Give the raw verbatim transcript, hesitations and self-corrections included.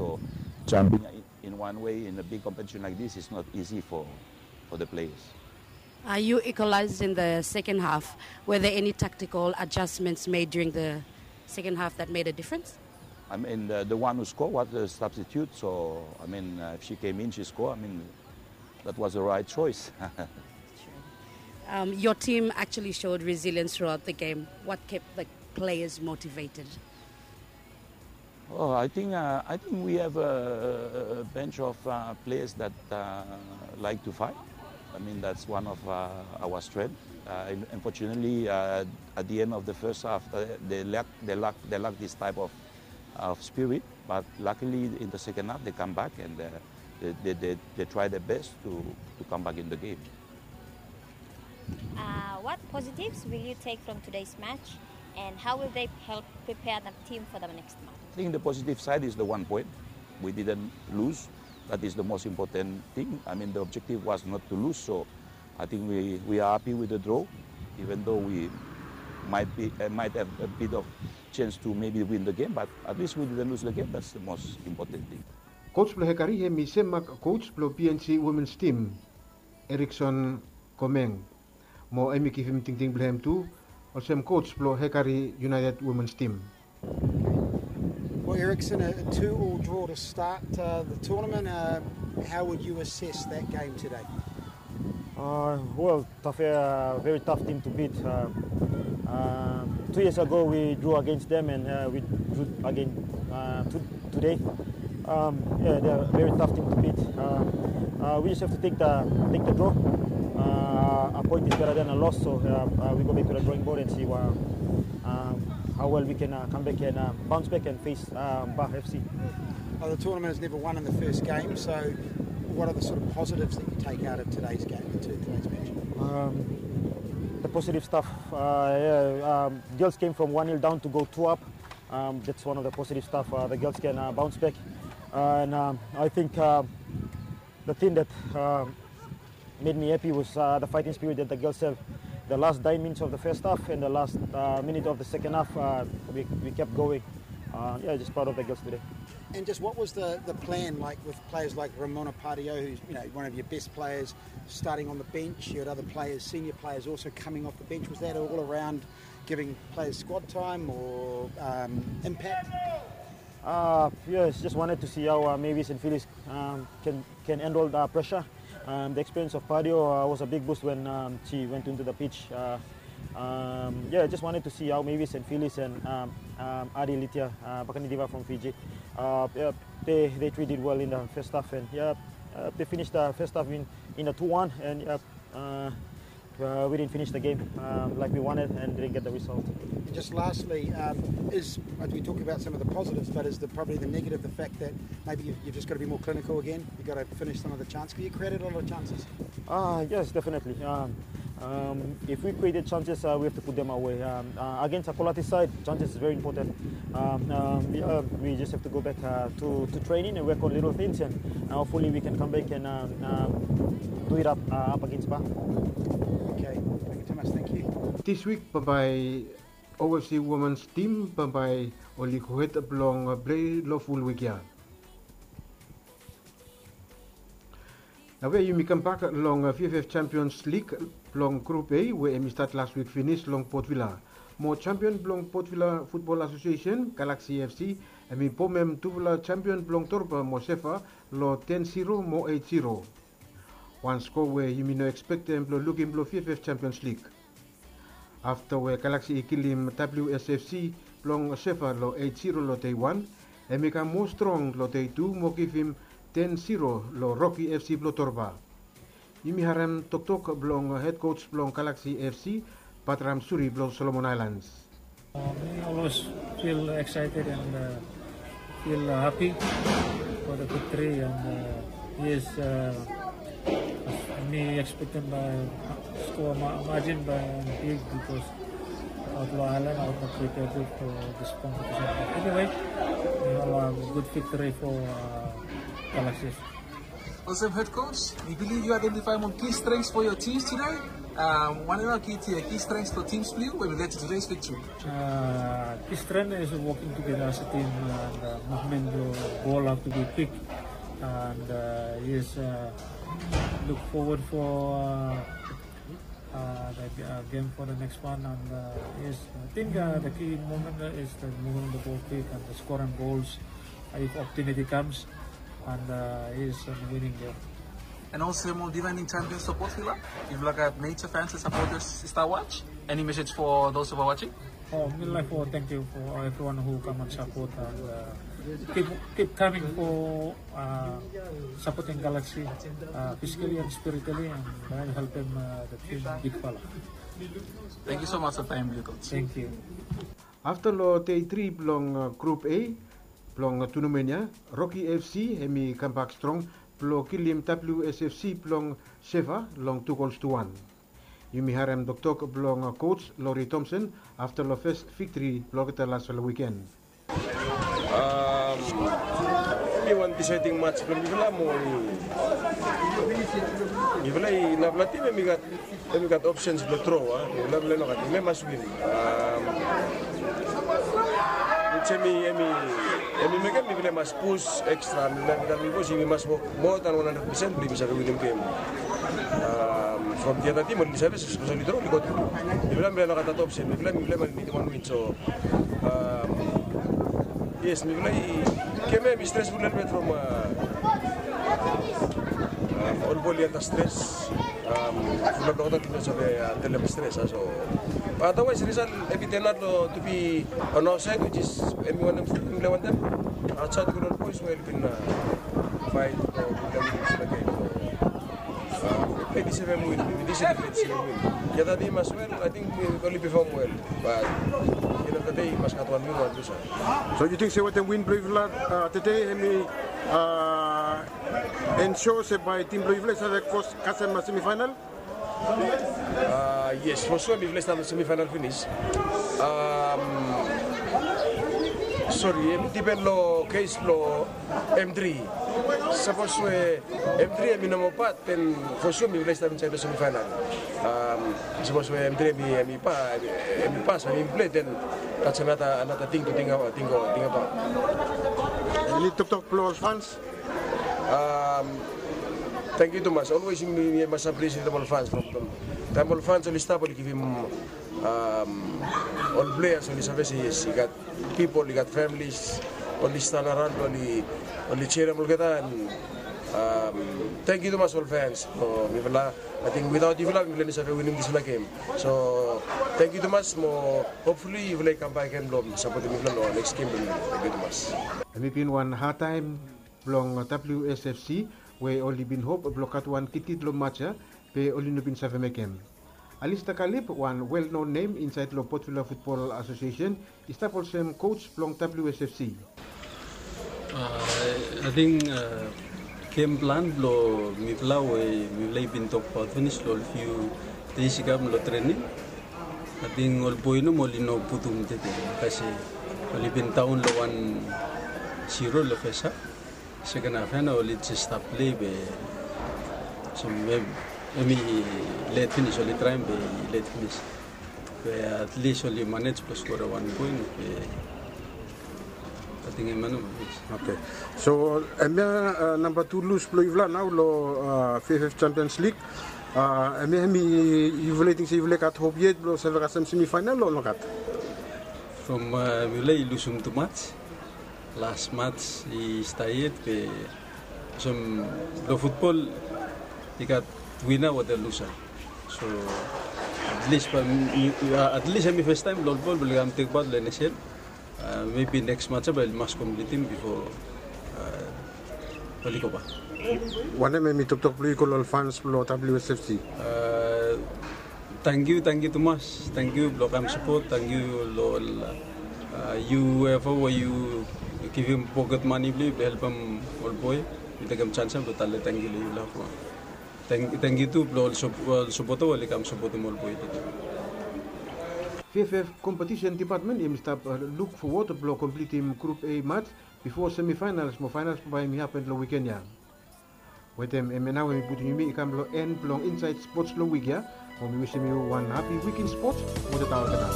So jumping in, in one way in a big competition like this is not easy for, for the players. Uh, you equalized in the second half. Were there any tactical adjustments made during the second half that made a difference? I mean, the, the one who scored was the substitute, so, I mean, uh, if she came in, she scored. I mean, that was the right choice. Um, your team actually showed resilience throughout the game. What kept the players motivated? Oh, I think, uh, I think we have a, a bunch of, uh, players that, uh, like to fight. I mean, that's one of, uh, our strength. Uh, un-, unfortunately, uh, at the end of the first half, uh, they lack, they lack, they lack this type of, of spirit. But luckily, in the second half, they come back and, uh, they, they, they, they try their best to, to come back in the game. Uh, what positives will you take from today's match, and how will they help prepare the team for the next match? I think the positive side is the one point. We didn't lose. That is the most important thing. I mean, the objective was not to lose, so I think we, we are happy with the draw, even though we might be, uh, might have a bit of chance to maybe win the game, but at least we didn't lose the game. That's the most important thing. Coach blong Hekari hemi sem mak coach blong P N G women's team, Erickson Komeng. Mo hemi givim tingting blong hem tu olsem coach blong Hekari United women's team. Well, Erickson, a two-all draw to start, uh, the tournament. Uh, how would you assess that game today? Uh, well, tough, uh, very tough team to beat. Uh, uh, two years ago, we drew against them, and, uh, we drew again, uh, to-, today. Um, yeah, they're a very tough team to beat. Uh, uh, we just have to take the, take the draw. Uh, a point is better than a loss, so, uh, uh, we go back to the drawing board and see wha-, um, how well we can, uh, come back and, uh, bounce back and face, uh, Ba F C. Well, the tournament is never won in the first game, so what are the sort of positives that you take out of today's game, to-, today's match? Um, the positive stuff, uh, yeah, um, girls came from one nil down to go two up. Um, that's one of the positive stuff. Uh, the girls can, uh, bounce back. Uh, and, um, I think, uh, the thing that, uh, made me happy was, uh, the fighting spirit that the girls have. The last nine minutes of the first half and the last, uh, minute of the second half, uh, we, we kept going. Uh, yeah, just proud of the girls today. And just what was the, the plan like with players like Ramona Pardio, who's, you know, one of your best players, starting on the bench? You had other players, senior players also coming off the bench. Was that all around giving players squad time or, um, impact? Uh, yes, just wanted to see how, uh, Mavis and Phyllis, um, can, can handle the pressure. Um, the experience of Pardio, uh, was a big boost when, um, she went into the pitch. Uh, um, yeah, just wanted to see how Mavis and Phyllis and, um, um, Adi Litia, uh, Bakanidiva from Fiji, uh, yeah, they, they treated well in the first half, and, yeah, uh, they finished the first half in, in a two one, and, yeah, uh, uh, we didn't finish the game, um, like we wanted and didn't get the result. And just lastly, um, is, as we talk about some of the positives, but is the, probably the negative the fact that maybe you've, you've just gotta be more clinical again? You've gotta finish some of the chances. You created a lot of chances. Ah, yes, definitely. Um, um, if we created chances, uh, we have to put them away. Um, uh, against a quality side, chances is very important. Um, um, we, uh, we just have to go back, uh, to, to training and work on little things, and, uh, hopefully we can come back and, um, um, do it up, uh, up against Ba. Okay, thank you, Thomas. Thank you. This week, bambae O F C women's team bambae oli go hed blong plei lo ful wik ya. Nao we yumi kambak long V F F Champions League blong Group A we hemi stat las wik finis long Port Vila. Mo champion blong Port Vila Football Association, Galaxy F C, hemi bom hem tufala champion blong Torba mo Shefa lo ten zero mo eight zero. Wan skoa we yumi no ekspektem blo lukim blo V F F Champions League. Afta we Galaxy i kilim W S F C blong Shefa lo eight zero lo dei wan, hemi kam moa strong lo dei tu mo givim ten zero lo Rocky F C blo Torba. Yumi harem toktok blong hed coach blong Galaxy F C, Batram Suri blo Solomon Islands. Uh, mi always feel excited and, uh, feel, uh, happy for the victory, and, uh, yes, uh, mi expecting by score ma-, margin by big because of lo island, I was not prepared for this competition. But anyway, we have a good victory for, uh, Galaxy. Olsem head coach, mi bilif yu aidentifaem ol key strengths for your teams today. Um, wanem nao key, key strengths for teams blong yu we led to today's victory? Uh, key strength is working together as a team, and uh, movement blong bol have to be quick, and uh, yes, uh, look forward for uh, uh, the uh, game for the next one. And uh, yes, I think uh, the key moment uh, is the moving the ball quick and the scoring goals uh, if opportunity comes, and uh, yes, and winning game. And also, ol defending champions support, Villa. If like a major fans and supporters start watch, any message for those who are watching? Oh, mi laik for thank you for everyone who come and support and uh, keep keep coming for uh, supporting Galaxy uh, physically and spiritually, and uh, help them uh, the team big fala. Thank you so much for time, Lucas. Thank you. Afta long dei tri blong uh, Grup A blong uh, tournament ya, Rocky F C hemi kambak strong blong kilim W S F C blong Seva long tu gols tu wan. Yumi harem toktok blong uh, coach Lori Thompson afta long fes viktri blong olgeta lasfala wiken. Um, hemi wan desaeding mats blong mifala mo mifala i narafala tim hemi gat hemi gat opsens blong dro, a? Mifala mifala i no gat, mifala i mas win. Um, hemi hemi hemi mekem mifala i mas pus ekstra, mifala mifala i mas wok moa dan wan handred pesen blong yumi save winim gem. Um, from the other team oli save, especially dro oli go tru. Mifala mifala i no gat that opsen, mifala mifala i mas nidim wan win. So um, yes, mifala i gem ya hemi stresful lelebet from uh, um, ol boi oli under stress. Um, fulap dokta oli no save uh, handlem stress, a? So but otherwise result hemi turn out long to be on our side, which is hemi wantem, mifala wantem. Outside ol boys we oli bin uh, fight o mifala win dispela gem. So uh, mifala i deserve win, mifala i deserve win. The other team as well, I think uh, oli perform well. But end of the day, i mas gat wan win, wan lose. So yu ting se wetem win blong yufala uh, tede hemi uh, ensure se bae tim blong yufala i save kros kasem semifinal? Uh, yes, for sure mifala i stap long semifinal finis. Um, sorry, hemi dipen long kes blong M three. Sapos we M three hemi no moa pat, then for sure mifala i stap insaed long semifinal. Um, sapos we M three hemi, hemi pa, hemi pas, hemi plei, then that's another, another thing to think about, think, think about. Eni toktok blong ol fans? Um, tangkiu tumas. Always mi, mi mas appreciate ol fans from, from taem ol fans oli stap oli givim um, ol players oli save se yes, i gat people, i gat families oli stand around, oli, oli cheerem olgeta. And um, tangkiu tumas ol fans. Mo mifala, I think without yufala mifala i no save winim dispela gem. So tangkiu tumas mo hopefully yufala i kambak gen blong sapotem mifala long next gem blong yufala. Tangkiu tumas. Hemi bin wan had taem blong W S F C we oli bin hop blong gat wan kitkit long mats ya, be oli no bin save mekem. Alista Kalib, wan well known nem insaed long Port Vila Football Association, i stap olsem coach blong W S F C. Uh, ating uh, game plan blong mifala we mifala i bin tokbaot finis long ol few days i kam long trening. Ating ol boi nomo oli no putum tede, kasi oli bin daon long wan zero long fes haf. Seken haf ya nao oli jes stap plei be olsem hemi let finis, oli traem be i let finis. Be at least oli manej blong skorem wan poen be ating hemia nao manej. Okay. So hemia namba tu lus blong yufala nao long V F F Champions League. Hemia hemi yufala i ting se yufala i gat hop yet blong save kasem semifinal o nogat? From mifala i lusum tumaj. Las mats i stap yet be olsem long futbol i gat wina wetem lusa. So at least bae at least hemi fes taem blong ol boi oli kam tek pat long N S L. Mebi neks mats ya bae oli mas komplitim bifo oli go bak. Wanem hemi toktok blong yu go long ol fans blong W S F C? Tangkiu, tangkiu tumas. Tangkiu blong kam sapot. Tangkiu long ol yu efa we yu givim poket mane blong yu blong helpem ol boi. Mi tekem sans ya blong talem tangkiu long yufala. Tangkiu tu blong ol sapota we oli kam sapotem ol boi tede. V F F Competition Department hemi stap luk fowod blong komplitim Grup A mats bifo semifinals mo finals bae hemi hapen long wiken ya. Wetem hemia nao we mi putum yumi i kam long en blong Insaed Spots long wik ya. Mo mi wisim yu wan hapi wik in spots. Mo tata olgeta.